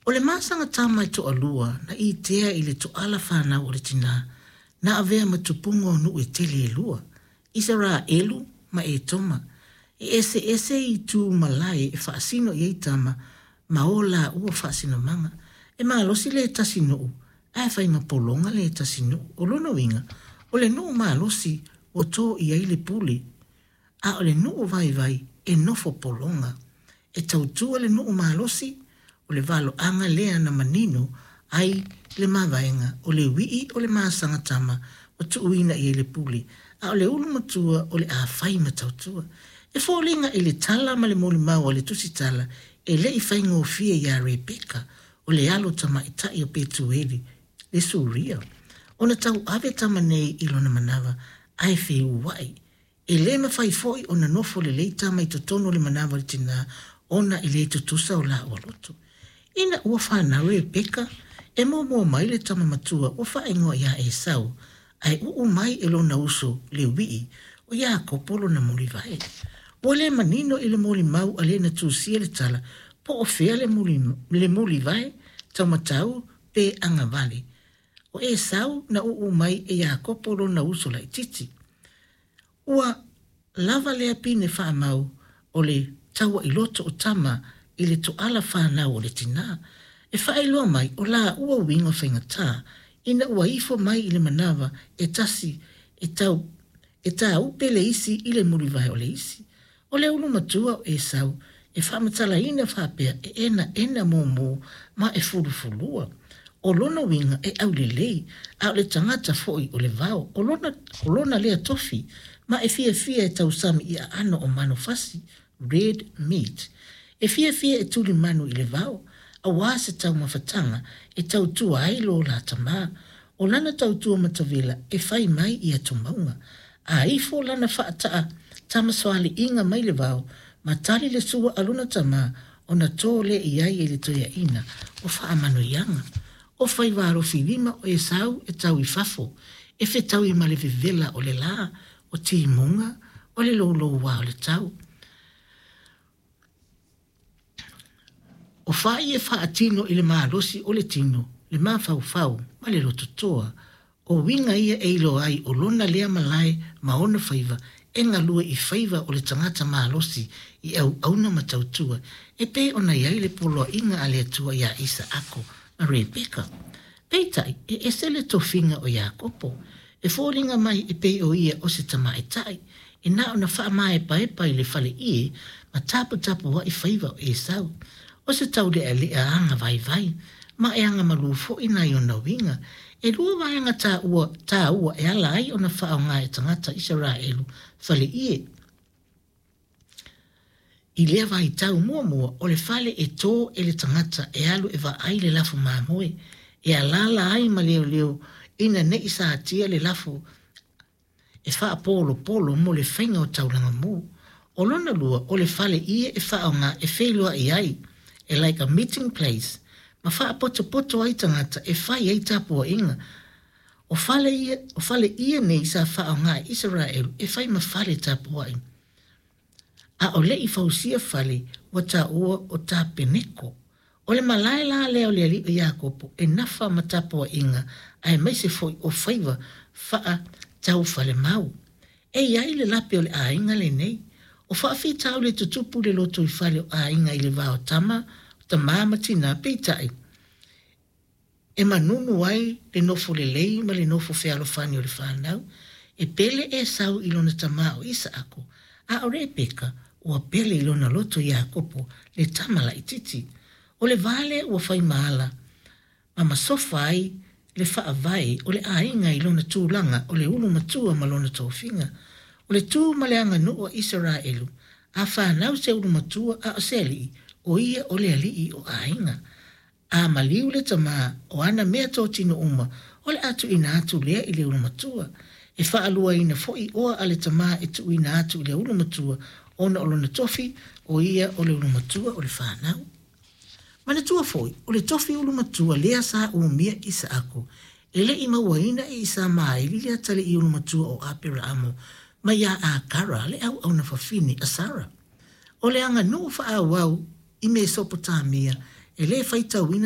O le masaga tama e toalua na itea i le toala fanau o le tinā, na avea ma tupuga o nuu e tele e lua, Isaraelu ma Etoma. E eseese itu malae e faasino i ai tama ma o laua faasinomaga. E malosi le tasi nuu, ae fai ma pologa le tasi nuu. O lona uiga, o le nuu malosi ua to i ai le pule, a o le nuu vaivai e nofo pologa. E tautua le nuu malosi, o le valoaga lea na manino ai le mavaega, o le uii o le masaga tama ua tuuina i ai le pule, a o le ulu matua o le a fai ma tautua. E foliga i le tala ma le molimau a le Tusitala e le i faigofie iā Rebeka, o le alo tamaitai o Petueli, le Suria, ona tauave tama nei i lona manava, ae feua'i. E le mafai foi ona nofo lelei tama i totonu o le manava o le tinā ona e le tutusa o laua loto. Ina ua fanau Rebeka, e muamua mai le tama matua ua faaigoa ia Esau, ae uu mai e lona uso le uii, o Iakopo lona mulivae. Ua le manino i le molimau a le na tusia le tala po o fea le mulivae, taumatau pe agavale. O Esau na uu mai e Iakopo lona uso laitiiti. Ua lava lea pine faamau o le taua'iloto o tama i le toala fanau o le tinā, e faailoa mai o laua uiga faigata ina ua ifo mai i le manava e tasi e tau e tāupe le isi i le mulivae o le isi. O le ulu matua o Esau e faamatalaina faapea e enaena mumu ma e fulufulua. O lona uiga e aulelei, a o le tagata foi o le vao. O lona, o lona lea tofi, ma e fiafia e tausami i aano o manufasi, red meat. E fiafia e tuli manu i le vao, auā se taumafataga e tautua ai lo la tamā. O lana tautua matavela e fai mai i atumauga. A ifo lana faataa tamasoaliiga mai le vao, ma tali le sua a lona tamā, ona to lea i ai e le toeaina o faamanuiaga. O faiva alofilima o Esau e tau i fafo, e fetaui ma le vevela o le la, o timuga, o le loulouā o le tau. O fai e faatino i le malosi o le tino, le mafaufau ma le lototoa. O uiga ia e iloa ai o lona lea malae ma ona faiva e galue i faiva o le tagata malosi i auauna ma tautua, e pei ona i ai le poloaiga a le Atua iā Isaako ma Rebeka. Peitai, e ese le tofiga o Iakopo. E foliga mai e pei o ia o se tamaitai, e na ona faamaepaepa i le faleie ma taputapua'i faiva o Esau. O se taulealea aga vaivai, ma e agamalu foi nai ona uiga. E lua vaega taua, taua e ala ai ona faaaoga e tagata Isaraelu faleie i lea vaitau. Muamua, o le fale e tō e le tagata e alu e vaai le lafu mamoe, e alaala ai ma leoleo ina ne i satia le lafu e faapolopolo mo le faiga o taulaga mu. O lona lua, o le fale ia e faaaoga e feiloai ai, e like a meeting place, ma faapotopoto ai tagata e fai ai tapuaiga. O fale ia, o fale ia nei sa faaaoga e Isaraelu e fai ma fale tapuai. A o le i fausia fale ua taua o Tapeneko. O le malae la lea o le alii o Iakopo e nafa ma tapuaiga aemaise foi o faiva faataufalemau. E i ai le lape o le aiga lenei. O faafitauli e tutupu i le lotoifale o aiga i le va o tama, tamā ma tinā, peitai, e manunu ai le nofo lelei ma le nofo fealofani o le fanau. E pele Esau i lona tamā o Isaako, a o Rebeka ua pele i lona loto Iakopo le tama laitiiti. O le va lea ua fai ma ala ma masofa ai le faavae o le aiga i lona tulaga o le ulu matua ma lona tofiga. O le tu ma le aganuu a Isaraelu, a fanau se ulu matua a o se alii, o ia o le alii o aiga. A maliu le tamā, o ana meatotino uma o le a tuuina atu lea i le ulu matua. E faaluaina foi oa a le tamā e tuuina atu i le ulu matua ona o lona tofi, o ia o le ulu matua o le fanau. Manatua foi, o le tofi ulu matua lea sa umia e Isaako, e le i mauaina e Isamaeli le atalii ulu matua o Aperaamo mai iā Akara le auauna fafine a Sara. O le aganuu faaauau i Mesopotamia e le faitauina